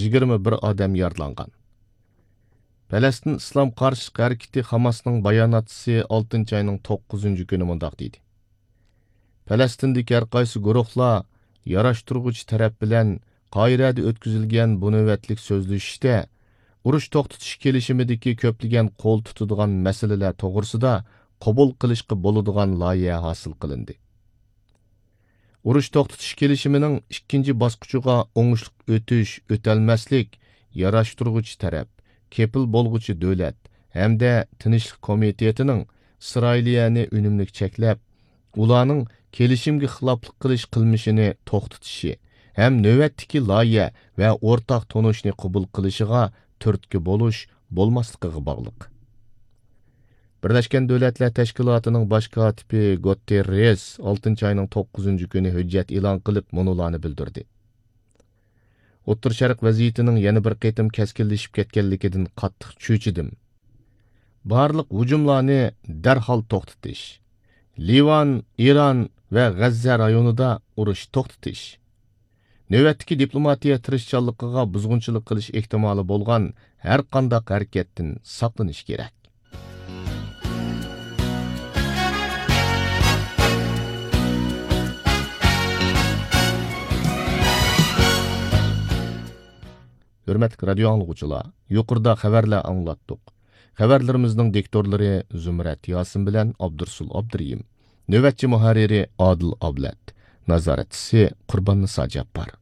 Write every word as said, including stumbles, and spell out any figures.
يىگىرمە بىر ئادەم يارىلانغان. پەلەستىن ئىسلام قارشىلىق ھەرىكىتى خاماسنىڭ باياناتچىسى ئالتىنچى ئاينىڭ توققۇزىنچى كۈنى مۇنداق دېدى: پەلەستىندىكى ھەرقايسى گۇرۇھلار ياراشتۇرغۇچى تەرەپ بىلەن قاھىرەدە ئۆتكۈزۈلگەن بۇ نۆۋەتلىك سۆزلىشىشتە ئۇرۇش توختىتىش كېلىشىمىدىكى كۆپلىگەن قول تۇتىدىغان مەسىلىلەر توغرىسىدا قوبۇل قىلىشقا بولىدىغان لايىھە ھاسىل قىلىندى. ئۇرۇش توختىتىش كېلىشىمىنىڭ ئىككىنچى باسقۇچىغا ئوڭۇشلۇق ئۆتۈش، ئۆتەلمەسلىك، ياراشتۇرغۇچى تەرەپ، كېپىل بولغۇچى دۆلەت ھەمدە تىنچلىق كومىتېتىنىڭ ئىسرائىلىيەنى ئۈنۈملۈك چەكلەپ، ئۇلارنىڭ كېلىشىمگە خىلاپلىق قىلىش قىلمىشىنى توختىتىشى ھەم نۆۋەتتىكى لايىھە ۋە ئورتاق تونۇشنى قوبۇل قىلىشىغا تۈرتكە بولۇش، بولماسلىقىغا باغلىق. بىرلەشكەن دۆلەتلەر تەشكىلاتىنىڭ باش كاتىپى گۇتېررېس ئالتىنچى ئاينىڭ توققۇزىنچى كۈنى ھۆججەت ئېلان قىلىپ، مۇنۇلارنى بىلدۈردى: ئوتتۇرا شەرق ۋەزىيىتىنىڭ يەنە بىر قېتىم كەسكىنلىشىپ كەتكەنلىكىدىن قاتتىق چۆچۈدۈم. بارلىق ھۇجۇملارنى دەرھال توختىتىش، لىۋان، ئىران ۋە غەززە رايونىدا ئۇرۇش توختىتىش، نۆۋەتتىكى دىپلوماتىيە تىرىشچانلىقىغا بۇزغۇنچىلىق قىلىش ئېھتىمالى بولغان ھەرقانداق ھەرىكەتتىن ساقلىنىش كېرەك. ھۆرمەتلىك رادىيو ئاڭلىغۇچىلار، يۇقىرىدا خەۋەرلەر ئاڭلاتتۇق. خەۋەرلىرىمىزنىڭ دىكتورلىرى زۇمرەت ياسىن بىلەن ئابدۇرسۇل ئابدۇرېھىم. نۆۋەتچى مۇھەررىرى ئادىل ئابلەت. نازارەتچىسى قۇرباننىسا جاپپار.